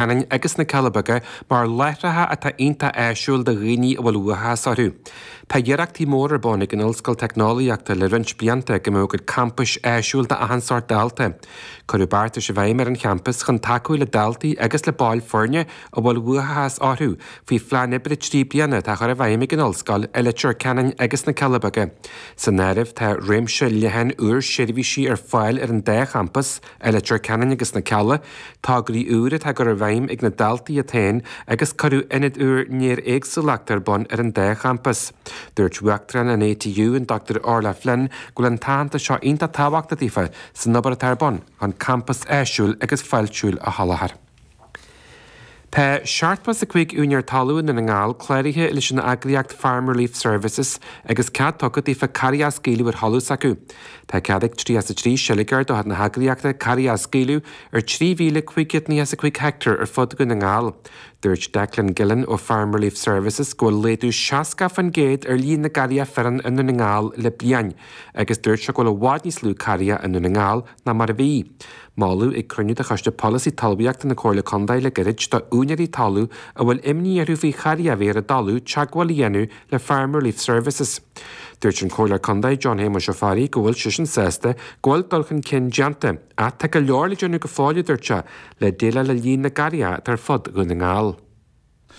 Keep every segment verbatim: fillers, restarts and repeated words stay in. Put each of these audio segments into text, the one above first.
Ceanainn agus na Cealla Beaga mar láithreacha atá iontach áisiúil do dhaoine a bhfuil uathachas orthu. Tá iarrachtaí mór ar bun ag an Ollscoil Teicneolaíochta le roinnt blianta go mbeadh a gcuid campais áisiúil d'achan sórt dalta. Cuireadh beartais i bhfeidhm ar an champas chun tacú le daltaí agus le baill foirne a bhfuil uathachas orthu faoi phlean oibre trí bliana atá á chur i bhfeidhm ag an ollscoil i Leitir Ceanainn agus na Cealla Beaga. San áireamh tá réimse leathan úr seirbhísí ar fáil ar an dá champas i Leitir Ceanainn agus na Cealla, tograí úr atá á gcur i bhfeidhm ag na daltaí iad féin agus cuireadh ionad úr néar-éagsúlachta ar bun ar an dá champas. Dúirt Uachtarán an ATU an Dr Orla Flynn go bhfuil an t-aitheantas seo iontach tábhachtach daofa san obair atá ar bun chun campas áisiúil agus fáiltiúil a sholáthar. Tá seachtó is a cúig úinéir talún i nDún na nGall cláraithe leis an eagraíocht Farm Relief Services agus cead tugtha daofa carraig a scaoileadh ar thalamh s'acu. Tá cead ag tríocha a trí seilgeoir de chuid na heagraíochta carraig a scaoileadh ar trí mhíle cúig chéad nócha is a cúig heicteár ar fud Dhún na nGall. Dúirt Declan Gillen ó Farm Relief Services go bhfuil laghdú seasca faoin gcéad ar líon na gcarraighe fireann i Ndún na nGall le bliain, agus dúirt sé go bhfuil i bhfad níos lú carraighe i Ndún na nGall ná mar a bhí. Moladh ag cruinniú de Choiste Polasaí Talmhaíochta na Comhairle Contae le gairid do úinéirí talún a bhfuil imní orthu faoi charraighe a bheith ar a dtalamh teagmháil a dhéanamh le Farm Relief Services. Dúirt an Comhairleoir Contae John Shéamuis Ó Fearraigh go bhfuil seisean sásta go bhfuil dul chun cinn déanta, ach tá go leor le déanamh go fóill, a dúirt sé, le déileáil le líon na gcarraighe atá ar fud Dhún na nGall.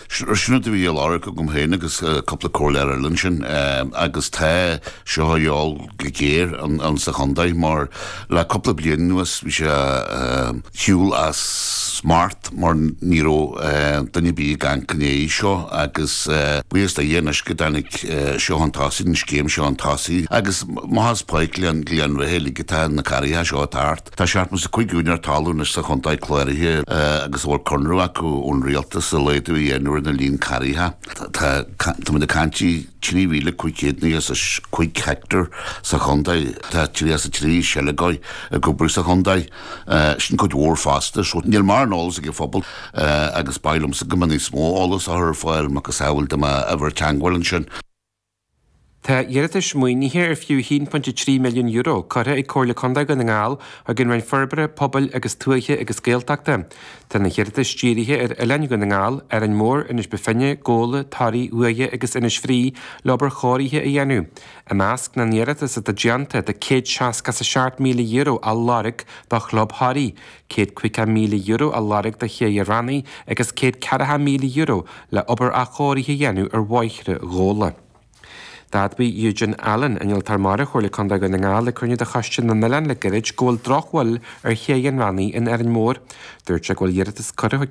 Sin rud a bhí á lorg agam féin agus cúpla comhairleoir eile ansin agus tá seo á dhíobháil go géar ann sa chontae mar le cúpla bliain anuas bhí sé shiúl as smacht mar ní raibh duine ar bith ag amharc i ndiaidh seo agus buíochas do Dhia anois go dtáinig seo chun tosaigh, an scéim seo chun tosaigh agus maitheas Páirc Ghleann Bheatha uilig atá na carraighe seo ag teacht. Tá seachtó is a cúig úinéir talún anois sa chontae cláraithe agus a bhfuil conradh acu ón rialtas a laghdú a dhéanamh ar na líon carraighe. Tá táimid ag caint trí mhíle cúig chéad nócha is a cúig heicteár sa chontae. Tá tríocha is a trí seilgeoir ag obair sa chontae. Sin cuid mhór fosta. So níl mórán eolas ag an phobal agus ba mhaith liomsa go mbeadh níos mó eolas á chur ar fáil macasamhail de m'uimhir teagmháil ansin. Tá iarratais maoinithe ar fiú a haon pointe trí milliún euro curtha ag Comhairle Contae Dhún na nGall chuig an Roinn Forbartha Pobail agus Tuaithe agus Gaeltachta. Tá na hiarratais dírithe ar Oileáin Dhún na nGall, Árainn Mhór, Inis Bó Finne, Gabhla, Toraigh, Uaighe agus Inis Fraoigh le obair chóirithe a dhéanamh. I measc na n-iarratas atá déanta tá céad seasca is a seacht míle euro á lorg do Chlub Thoraí, céad caoga míle euro á lorg do Ché an Rannaigh agus céad ceathracha míle euro le obair athchóirithe a dhéanamh ar bhóithre Ghabhla. D'admhaigh Eugene Allen, innealtóir mara Chomhairle Contae Dhún na nGall ag cruinniú de Choiste na nOileán le gairid go bhfuil drochbhail ar Ché an Rannaigh in Árainn Mhór. Dúirt sé go bhfuil iarratas curtha chuig